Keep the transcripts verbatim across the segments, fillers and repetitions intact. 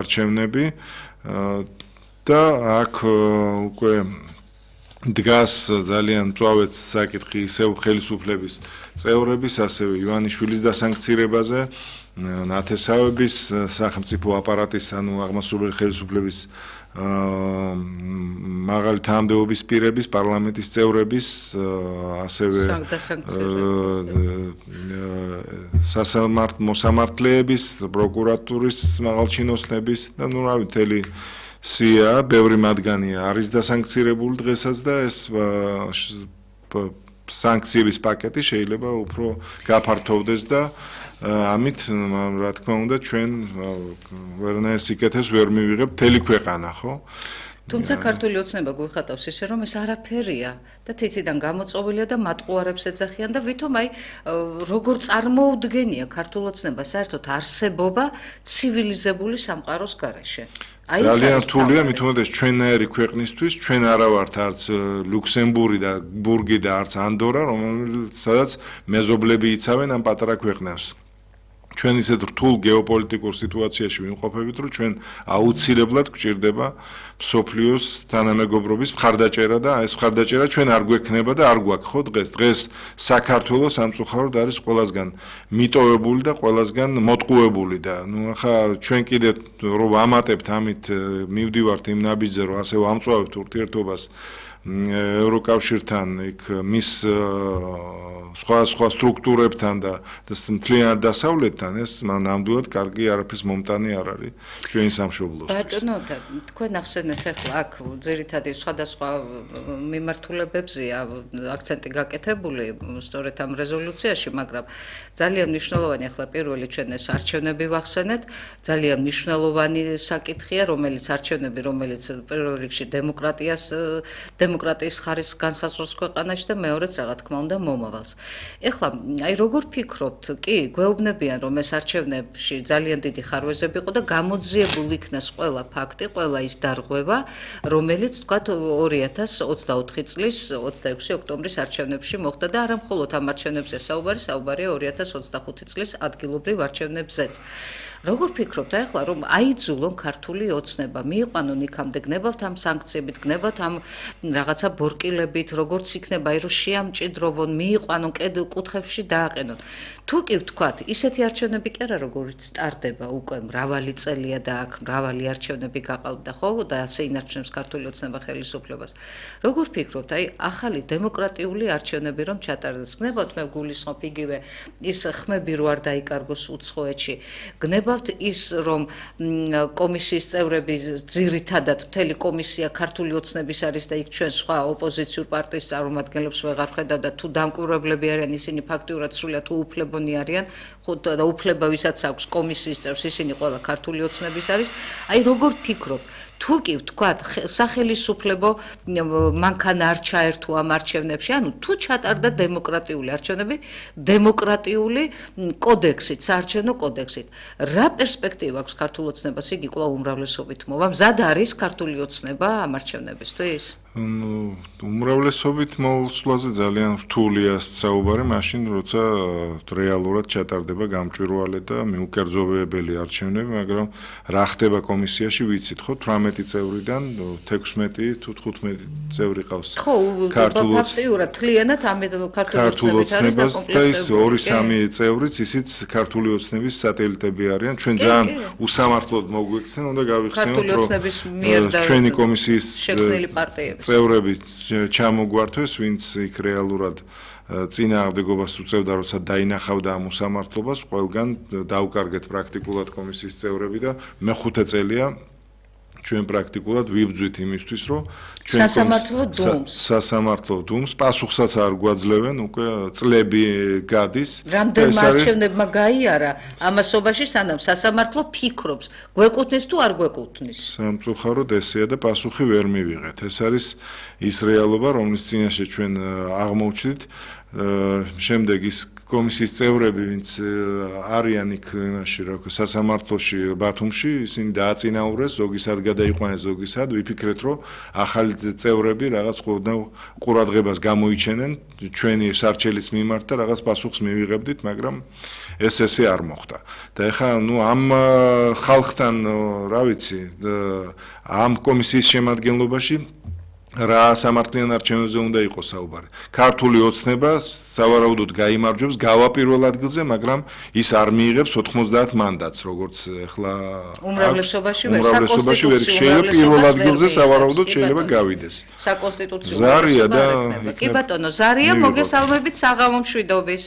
არჩევნები და აქ უკვე დგას ძალიან მწვავედ საკითხი ისევ ხელისუფლების წევრების, ასევე ივანიშვილის დასანქცირებაზე, ნათესავების, სახელმწიფო აპარატის, ანუ აღმასრულებელი ხელისუფლების მაღალი თანამდებობის პირების, პარლამენტის წევრების, ასევე მოსამართლეების, პროკურატურის მაღალჩინოსნების და ნუ რავი მთელი სია, ბევრი მათგანი არის დასანქცირებული დღესაც და ეს სანქციების პაკეტი შეიძლება უფრო გაფართოვდეს და ამით რა თქმა უნდა ჩვენ ვერანაირ სიკეთეს ვერ მივიღებთ მთელი ქვეყანა, ხო? თუმცა ქართული ოცნება გვიხატავს ისე რომ ეს არაფერია და თითიდან გამოწვეულია და მატყუარებს ეძახიან და ვითომ აი როგორ წარმოუდგენია ქართული ოცნება საერთოდ არსებობა ცივილიზებული სამყაროს გარეშე. ძალიან რთულია, მით უმეტეს ჩვენნაირი ქვეყნისთვის, ჩვენ არა ვართ არც ლუქსემბურგი და ბურგი და არც ანდორა, რომელიც სადაც მეზობლები იცავენ ამ პატარა ქვეყნებს. ჩვენ ისეთ რთულ გეოპოლიტიკურ სიტუაციაში ვიმყოფებით, რომ ჩვენ აუცილებლად გვჭირდება მსოფლიოს თანამეგობრობის მხარდაჭერა და ეს მხარდაჭერა ჩვენ არ გვექნება და არ გვაქვს, ხო დღეს. დღეს საქართველოს სამწუხაროდ არის ყველასგან მიტოვებული და ყველასგან მოტყუებული და ნუ ახლა ჩვენ კიდე რომ ვამატებთ ამით მივდივართ იმ ნაბიჯზე, რომ ასე ვამწვავებთ ურთიერთობას ევროკავშირთან, იქ მის სხვა სხვა სტრუქტურებთან და მთლიანად დასავლეთთან ეს ნამდვილად კარგი არაფრის მომტანი არ არის ჩვენი სამშობლოსთვის. ბატონო, თქვენ ახსენეთ ახლა აქ ძირითადად სხვადასხვა მიმართულებებზეა აქცენტი გაკეთებული სწორედ ამ რეზოლუციაში, მაგრამ ძალიან მნიშვნელოვანი ახლა პირველი ჩვენ ეს არჩევნები ვახსენეთ, ძალიან მნიშვნელოვანი საკითხია, რომელიც არჩევნები, რომელიც პირველ რიგში დემოკრატიას დემოკრატიის ხარისხს განსაზღვრავს ქვეყანაში და მეორეც რა თქმა უნდა მომავალს. ეხლა აი როგორ ფიქრობთ, კი, გვეუბნებიან რომ ეს არჩევნებში ძალიან დიდი ხარვეზები იყო და გამოძიებული იქნას ყველა ფაქტი, ყველა ის დარღვევა, რომელიც თქვათ ორი ათას ოცდაოთხი წლის ოცდაექვსი ოქტომბრის არჩევნებში მოხდა და არა მხოლოდ ამ არჩევნებზე საუბარი, საუბარია ორი ათას ოცდახუთი წლის ადგილობრივ არჩევნებზეც. როგორ ფიქრობთ ახლა რომ აიძულონ ქართული ოცნება მიიყვანონ იქამდე გნებავთ ამ სანქციებით, გნებავთ ამ რაღაცა ბორკილებით, როგორც იქნება აი რომ შეამჭიდროვონ, მიიყვანონ კუთხებში დააყენონ. თუ კი ვთქვათ, ისეთი არჩევნები კი არა როგორიც სტარდება უკვე მრავალი წელია და აქ მრავალი არჩევნები გაყალბდა, ხო და ასე ინარჩუნებს ქართული ოცნება ხელისუფლებას. როგორ ფიქრობთ, აი ახალი დემოკრატიული არჩევნები რომ ჩატარდეს, გნებავთ მე გულისხმობ იგივე ის ხმები რო არ დაიკარგოს უცხოეთში, გნებავთ ის რომ კომისიის წევრები ძირითადად მთელი კომისია ქართული ოცნების არის და იქ ჩვენ სხვა ოპოზიციურ პარტიის წარმომადგენლებს ვეღარ ხედავ და თუ დამკვირვებლები არიან ისინი ფაქტიურად სრულიად უუფლებონი არიან, ხო და უფლება ვისაც აქვს კომისიის წევრს ისინი ყველა ქართული ოცნების არის. აი როგორ ფიქრობთ, თუ კი ვთქვათ სახელისუფლებო მანქანა არ ჩაერთო ამ არჩევნებში, ანუ თუ ჩატარდა დემოკრატიული არჩევნები, დემოკრატიული კოდექსით, საარჩევნო კოდექსით, რა პერსპექტივა აქვს ქართულ ოცნებას, იგი კვლავ უმრავლესობით მოვა, მზად არის ქართული ოცნება ამ არჩევნებისთვის? ნუ უმრავლესობით მოვსვლაზე ძალიან რთულია საუბარი, მაშინ როცა რეალურად ჩატარდება გამჭვირვალე და მიუკერძოვებელი არჩევნები, მაგრამ რა ხდება კომისიაში ვიცით, ხო, თვრამეტი წევრიდან თექვსმეტი თუ თხუთმეტი წევრი ყავს. ხო, ფაქტიურად თლიანად ამ ქართული ოცნების და ის ორი სამი წევრიც ისიც ქართული ოცნების სატელიტები არიან. ჩვენ ძალიან უსამართლოდ მოგვიქცენ, უნდა გავიხსენოთ, რომ ჩვენი კომისიის შექმნილი პარტიები წევრები ჩამოგვართვეს, ვინც იქ რეალურად წინააღმდეგობას უწევდა, როცა დაინახავდა ამ უსამართლობას, ყველგან დაუკარგეთ პრაქტიკულად კომისიის წევრები და მეხუთე წელია ჩვენ პრაქტიკულად ვიბძვით იმისთვის, რომ ჩვენ სასამართლო დუმს სასამართლო დუმს პასუხსაც არ გვაძლევენ, უკვე წლები გადის. რამდენმა არჩევნებმა გაიარა ამასობაში, სანამ სასამართლო ფიქრობს, გვეკუთვნის თუ არ გვეკუთვნის. სამწუხაროდ ესეა და პასუხი ვერ მივიღეთ. ეს არის ის რეალობა, რომლის წინაშე ჩვენ აღმოჩნდით. შემდეგ ის კომისიის წევრები, ვინც არიან იქ იმაში, რა ვქო, სასამართლოში ბათუმში, ისინი დააწინაურეს, ზოგისად გადაიყვანეს, ზოგისად ვიფიქრეთ, რომ ახალი წევრები რაღაც ყურადღებას გამოიჩენენ ჩვენი სარჩელის მიმართ და რაღაც პასუხს მივიღებდით, მაგრამ ეს ესე არ მოხდა. და ეხლა ნუ ამ ხალხთან, რა ვიცი, ამ კომისიის შემადგენლობაში რა სამართლიან არჩევნებზე უნდა იყოს საუბარი. ქართული ოცნება სავარაუდოდ გაიმარჯვებს გავა პირველ ადგილზე, მაგრამ ის არ მიიღებს ოთხმოცდაათ მანდატს, როგორც ეხლა უმრავლესობაში ვერ უმრავლესობაში ვერ შეიძლება პირველ ადგილზე სავარაუდოდ შეიძლება გავიდეს. საკონსტიტუციო ზარია და კი ბატონო, ზარია მოგესალმებით საღამო მშვიდობის.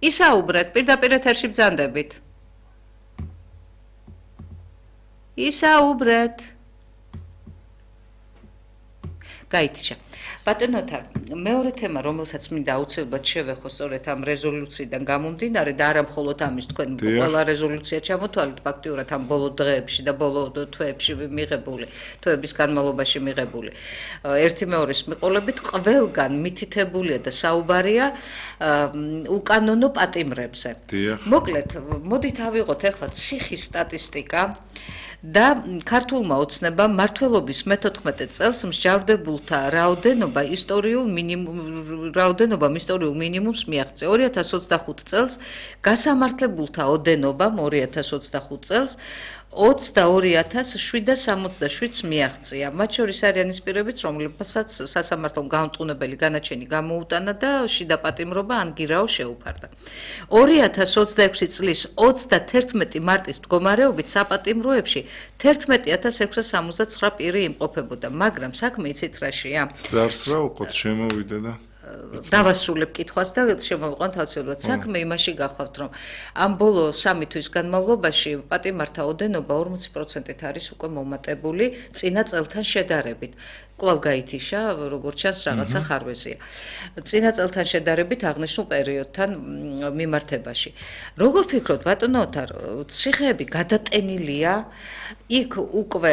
ისაუბრეთ, პირდაპირ ეთერში ბრძანდებით. ისაუბრეთ. გაიჩა. ბატონო თარ, მეორე თემა, რომელსაც მინდა აუცილებლად შევეხო სწორედ ამ რეზოლუციიდან გამომდინარე და არა მხოლოდ ამის, თქვენ ყველა რეზოლუცია ჩამოთვალეთ ფაქტიურად ამ ბოლო დღეებში და ბოლო თვეებში მიღებული, თვეების განმავლობაში მიღებული. ერთი მეორის მიყოლებით ყველგან მითითებულია და საუბარია უკანონო პატიმრებზე. მოკლედ, მოდით ავიღოთ ახლა ციხის სტატისტიკა. და ქართულმა ოცნებამ მმართველობის მეთოთხმეტე წელს მსჯავრდებულთა რაოდენობა ისტორიულ მინიმუმ რაოდენობამ ისტორიულ მინიმუმს მიაღწია. ორი ათას ოცდახუთ წელს გასამართლებულთა ოდენობამ ორი ათას ოცდახუთ წელს ოცდაორი ათას შვიდსათ სამოცდაშვიდს მიაღწია. მათ შორის არიან ის პირებიც, რომლებსაც სასამართლომ გამტყუნებელი განაჩენი გამოუტანა და შიდა პატიმრობა ან გირაო შეუფარდა. ორი ათას ოცდაექვსი წლის ოცდათერთმეტი მარტის მდგომარეობით საპატიმროებში თერთმეტი ათას ექვსსა სამოცდაცხრა პირი იმყოფებოდა, მაგრამ საქმე იცით რაშია? ზარს რა უყოთ შემოვიდა და დავასრულებ კითხვას და შემოვიყვანთ აუცილებლად. საქმე იმაში გახლავთ, რომ ამ ბოლო სამი თვის განმავლობაში პატიმართა ოდენობა ორმოცი პროცენტით არის უკვე მომატებული წინა წელთან შედარებით. კვლავ გაითიშა, როგორც ჩანს, რაღაცა ხარვეზია. წინა წელთან შედარებით აღნიშნულ პერიოდთან მიმართებაში. როგორ ფიქრობთ, ბატონო ოთარ, ციხეები გადატენილია იქ უკვე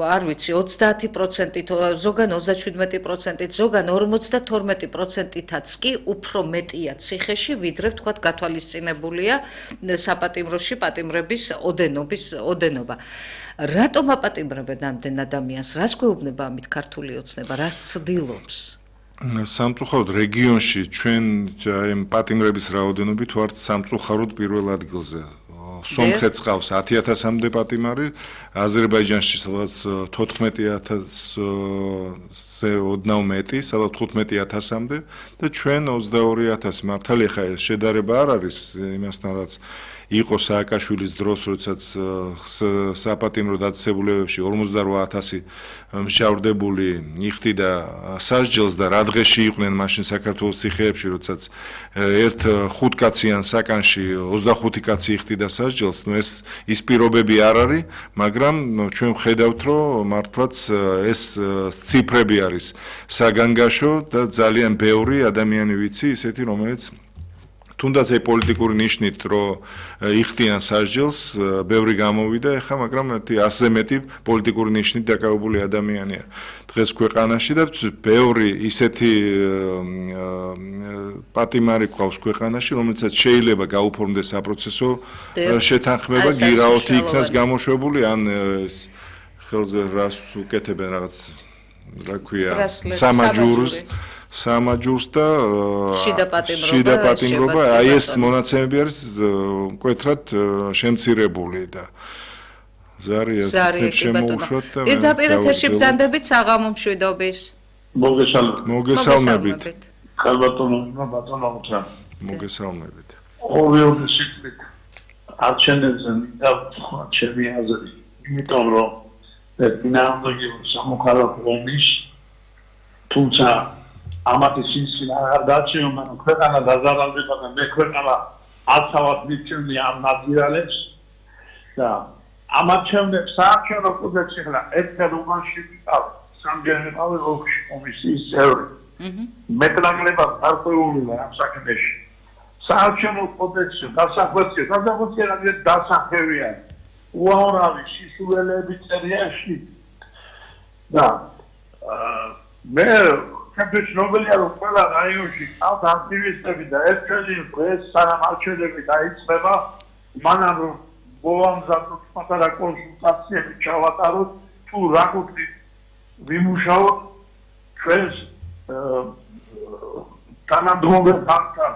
არ ვიცი ოცდაათი პროცენტით, ზოგან ოცდაშვიდმეტი პროცენტით, ზოგან ორმოცდათორმეტი პროცენტითაც კი უფრო მეტია ციხეში, ვიდრე ვთქვათ გათვალისწინებულია საპატიმროში პატიმრების ოდენობის ოდენობა. რატომ აპატიმრებენ ამდენ ადამიანს? რას გვეუბნება ამით ქართული ოცნება? რას ცდილობს? სამწუხაროდ რეგიონში ჩვენ აი პატიმრების რაოდენობით ვართ სამწუხაროდ პირველ ადგილზე. სომხეთს ყავს ათი ათასამდე პატიმარი, აზერბაიჯანში სადაც თოთხმეტი ათასზე ოდნავ მეტი, სადაც თხუთმეტი ათასამდე და ჩვენ ოცდაორი ათასი. მართალია ხა ეს შედარება არ არის იმასთან, რაც იყო სააკაშვილის დროს, როდესაც საპატიმრო დაწესებულებებში ორმოცდარვა ათასი მსჯავრდებული იხდიდა სასჯელს და რა დღეში იყვნენ მაშინ საქართველოს ციხეებში, როდესაც ერთ ხუთკაციან საკანში ოცდახუთი კაცი იხდიდა სასჯელს. ნუ ეს ის პირობები არ არის, მაგრამ ჩვენ ვხედავთ, რომ მართლაც ეს ციფრები არის საგანგაშო და ძალიან ბევრი ადამიანი ვიცი, ისეთი რომელიც თუნდაც აი პოლიტიკური ნიშნით რომ იხდიან სასჯელს, ბევრი გამოვიდა ეხა, მაგრამ ერთი ასზე მეტი პოლიტიკური ნიშნით დაკავებული ადამიანია დღეს ქვეყანაში და ბევრი ისეთი პატიმარი ყავს ქვეყანაში, რომელსაც შეიძლება გაუფორმდეს საპროცესო შეთანხმება, გირაოთი იქნას გამოშვებული, ან ხელზე რას უკეთებენ რაღაც, რა ქვია, სამაჯურს სამაჯურს და შიდა პატიმრობა, აი ეს მონაცემები არის მკვეთრად შემცირებული და ზარია შემოუშვათ და პირდაპირ ეთერში ბრძანდებით საღამო მშვიდობის. მოგესალმებით. მოგესალმებით. ხალბატონო, ბატონო მოთხრა. მოგესალმებით. ორი ოდესით არჩევნებზე და ჩემი აზრი, იმიტომ რომ დინამიკა სამოქალაქო ომის თუმცა ამათი სინსინა არ დაჩიო, მაგრამ ქვეყანა დაზარალდება და მე ქვეყანა აცავად მიცემდი ამ ნაციონალებს და ამ არჩევნებს საარჩევნო კოდექსი ხლა ერთად უმაში ვიყავ სამჯერ ვიყავი ოლქში კომისიის წევრი. მეტნაკლებად გარკვეულია ამ საქმეში. საარჩევნო კოდექსი დასახვეცია, დასახვეცია რადგან დასახევია. უამრავი სისულელეები წერიაში და მე ჩემთვის ცნობილია რომ ყველა რაიონში ყავთ აქტივისტები და ერთ-ერთი დღეს სანამ არჩევნები დაიწყება მანამ რომ მოვამზადოთ პატარა კონსულტაციები ჩავატაროთ თუ რა გვქონდით ვიმუშაოთ ჩვენს თანამდებობელ ფაქტთან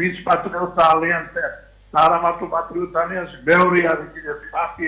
მის პატრიოტთა ალიანსთან და არა მარტო პატრიოტთა ალიანსი მეორე არის კიდევ პარტიები